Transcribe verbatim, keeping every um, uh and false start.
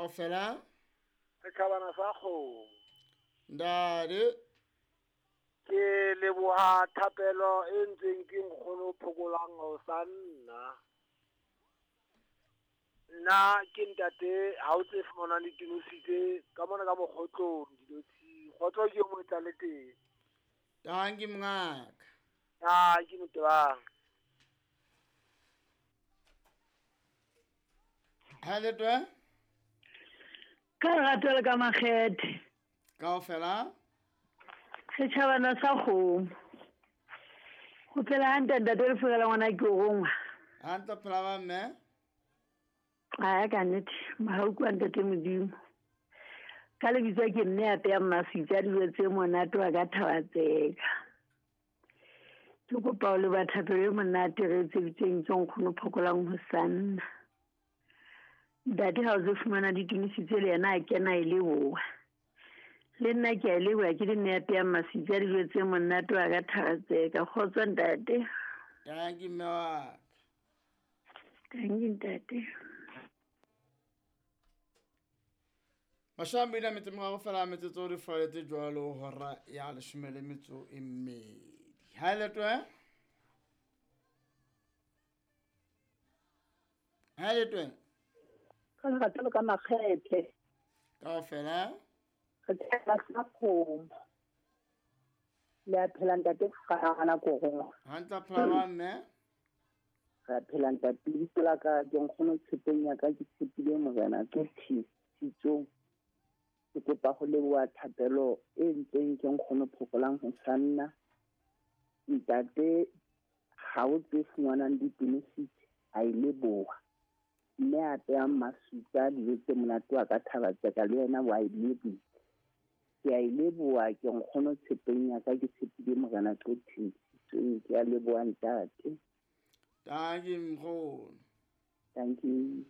Kaofela. Setjhabana sa kgomo. Ntate. Ke leboha thapelo e ntseng ke nkgono Phokolang ho sa nna. Nna ke ntate ha o tse fumanang ditinositse ka mona ka mokgotlong dinotshi. Kgotso ke mo etsa le teng. Tanki mongaka. Ah, ke motebang. Ha le twe? Ka lerato le ka makgethe. Kaofela. Setjhabana sa kgomo. Ho phela hantle ntate le fela ngwana ke o rongwa. Hantle phela ba mme. Aya ka nnete, mohau kwa ntate Modimo. Ka lebitso ke mme a peya maswitsi a dijo tse monate wa ka thaba tseka. Ke kopa ho leboha thapelo e monate re etseditsweng ke nkgono Phokolang ho sanna. Ntate ha o tlo fumana ditumisitse le yena a kena e leboha. Le nna ke a leboha ke le mme a peya maswitsi a dijo tse monate wa ka thaba tseka. Kgotso ntate. Tanki mme wa ka. Tanki ntate. Mashome a mabedi a metso e meraro fela metsotso di falletse jwalo hora ya leshome le metso e mmedi. Ha le twe? Ha le twe? Ka lerato le ka makgethe. Kaofela. Re tshela sa kgomo. Le a phela ntate ngwana ko rongwa. Hantle phela ba mme. Re a phela ntate lebitso la ka ke nkgono tshepeng ya ka ke tshepile morena ke thitsong. Ke kopa ho leboha thapelo e ntseng ke nkgono Phokolang ho sanna. Ntate ha o tse fumanang ditumisitse a e leboha. Mme a peyang maswitsi a dijo tse monate wa ka thaba tseka le yena wa e leboha. Ke a e leboha ke nkgono tshepeng ya ka ke tshepile morena ke thitsong. Ke a leboha ntate. Tanki nkgono. Tanki.